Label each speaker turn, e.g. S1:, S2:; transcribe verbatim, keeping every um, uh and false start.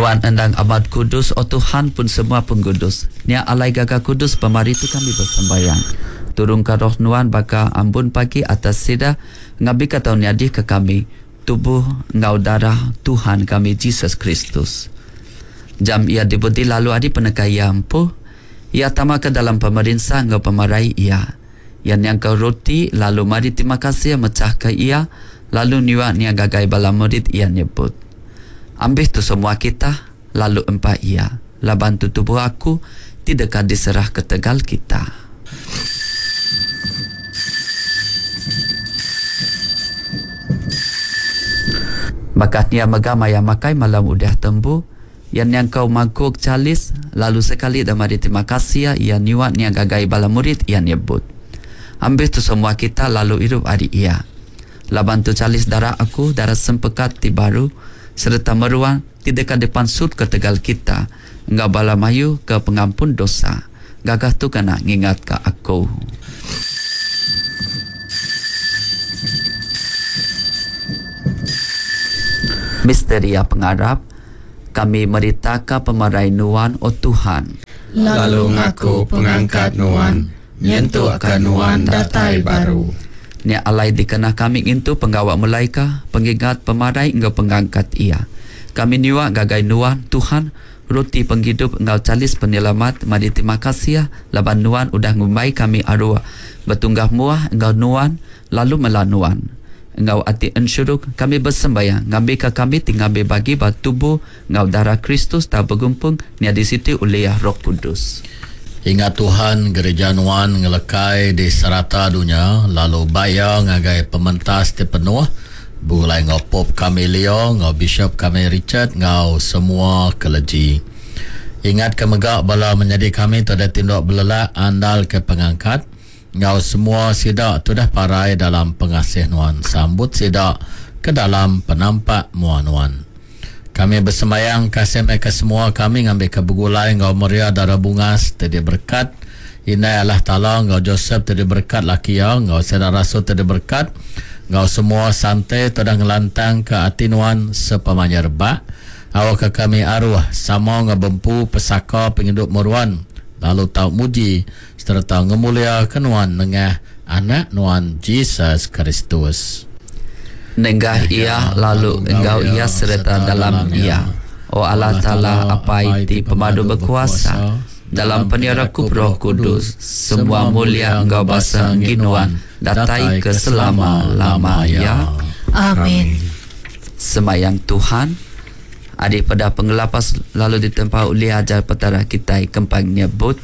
S1: Nuan endang amat kudus, O Tuhan, pun semua pengudus. Nya alai gaga kudus pemari tu kami besembayang. Turunka Roh Nuan baka ambun pagi atas sida, ngambika tau nyadika kami tubuh enggau darah Tuhan kami Jesus Kristus. Jam Iya dibudi lalu ari peneka Iya empu, Iya tama ke dalam pemerinsa enggau pemarai Iya. Iya nyangkau roti lalu meri terima kasih mechahka iya lalu nyua nya ngagai bala murid Iya nyebut, Ambih tu semua kita, lalu empa iya, laban tu tubuh aku ti deka diserah ketegal kita. Baka nya mega maya makai malam udah tembu, iya nyangkau mangkuk chalis, lalu sekali da meri terima kasih iya nyua nya ngagai bala murid iya nyebut, Ambih tu semua kita lalu irup ari iya. Laban tu chalis darah aku, darah sempekat ti baru sereta meruan ti deka dipansut ketegal kita enggau bala mayuh ke pengampun dosa. Gagah tu kena ngingatka aku. Misteria pengarap, kami meritaka pemarai Nuan, O Tuhan.
S2: Lalu ngaku pengangkat Nuan, nyentukka Nuan datai baru.
S1: Nya alai dikena kami ngintu pengawa mulaika pengingat pemarai enggau pengangkat Iya. Kami nyua ngagai Nuan, Tuhan, roti pengidup enggau chalis penyelamat, meri terima kasih laban Nuan udah ngumbai kami aruh betunggah muah enggau Nuan lalu mela Nuan. Enggau ati ensuruk kami besembayang ngambika kami ti ngambi bagi ba tubuh enggau darah Kristus tau begumpung nyadi siti ulih Roh Kudus.
S3: Ingat Tuhan Gereja Nuan ngelekai di serata dunya, lalu bai iya ngagai pementas ti penuh, begulai enggau Pope kami Leo, enggau Bishop kami Richard, enggau semua clergy. Ingat ke mega bala menyadi kami ti udah tinduk belelak andal ke pengangkat, enggau semua sida ti udah parai dalam pengasih Nuan, sambut sida ke dalam penampak mua Nuan. Kami besembayang kasih meh ke semua kami ngambika begulai enggau Maria Dara Bungas ti diberekat, Indai Allah Taala enggau Josep ti diberekat laki iya, enggau sida rasul ti diberekat, enggau semua sante ti udah ngelantangka ati Nuan sepemanjai rebak, awakka kami aruh sama enggau bempu pesaka pengidup meruan lalu tau muji sereta ngemuliaka Nuan nengah Anak Nuan Jesus Kristus.
S1: Nengah Iya lalu enggau Iya sereta dalam Iya, O Allah Taala Apai ti Pemadu Bekuasa, dalam penyerakup Roh Kudus, semua mulia enggau basa enggi Nuan datai ke selama-lama iya.
S4: Amin.
S1: Semayang Tuhan, ari peda pengelapas lalu ditempa ulih ajar Petara kitai kempang nyebut.